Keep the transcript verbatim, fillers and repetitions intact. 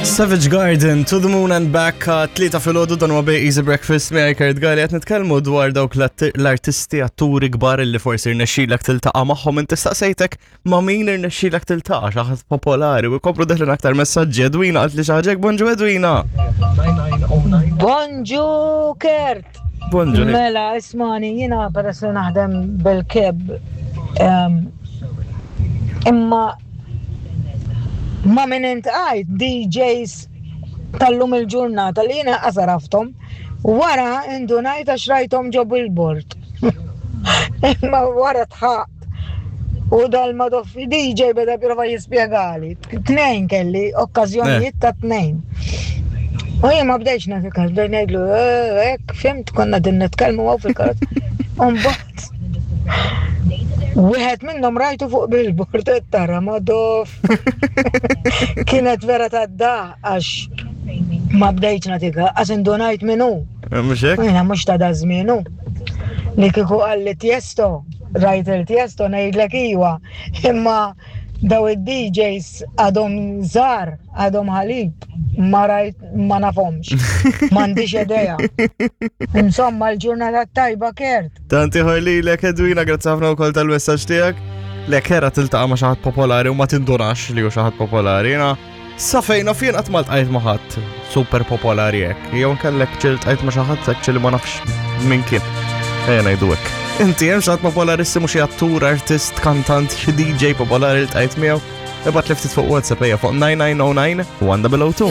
Savage Garden, To the Moon and Back, uh, tlieta filgħodu, dan huwa Easy Breakfast miegħi Kurt Gali. Qed nitkellmu dwar dawk l-artisti, atturi kbar li forsi rnexxilek tiltaqa' magħhom. Inti staqsejtek ma' min irnexxilek tiltaqa' xi ħadd popolari u jkomplu deħlin aktar messaġġi. Edwina qalt li xi ħaġa. Bonġu, Edwina. Bonġu, Kurt. Bonġu. Mela, ismagħni, jiena peress li naħdem bil-cab, em, imma ma' min iltqajt D Js tal-lum il-ġurnata li jiena qas għarafthom, wara indunajt għax rajthom ġo billboard. Imma wara dħakt. U dal-madoff D J beda prova jispjegali. Tnejn kelli, okkażjonijiet ta' tnejn. U jien ma bdejx nagħti każ, bdejt ngħidlu, "Eh, hekk, fhimt, konna din nitkellmu hawn fil-karozza." U mbagħad wieħed minnhom rajtu fuq billboard, qed tara madoff. Kienet vera ta' da għax ma bdejtx nagħti każ, għax indunajt min hu. Mhux hekk? U jiena mhux ta' da żmienu. Li kieku qalli Tiesto, rajt il-Tiesto, ngħidlek iwa, imma daw id-D Js għadhom żgħar, għadhom ħalib, ma rajt, ma nafhomx. M'għandix idea. Insomma, l-ġurnata tajba, Kurt. Tanti ħorli lek, Edwina, grazzi ħafna wkoll tal-messaġġ tiegħek. Lek hera tiltaqa' ma' xi ħadd popolari u ma tindunax li hu xi ħadd popolari. Jiena sa fejn naf jien qatt ma ltqajt ma' ħadd super popolari hekk. Jew nkellek ġieli ltqajt ma' xi ħadd hekk li ma nafx min kien. Ejja ngħidu hekk. Inti hemm xi ħadd popolarissimu, xi attur, artist, kantant, xi D J popolari li ltqajt miegħu? Ibgħat li ftit fuq WhatsApp, ejja, fuq nine nine zero nine one zero zero two.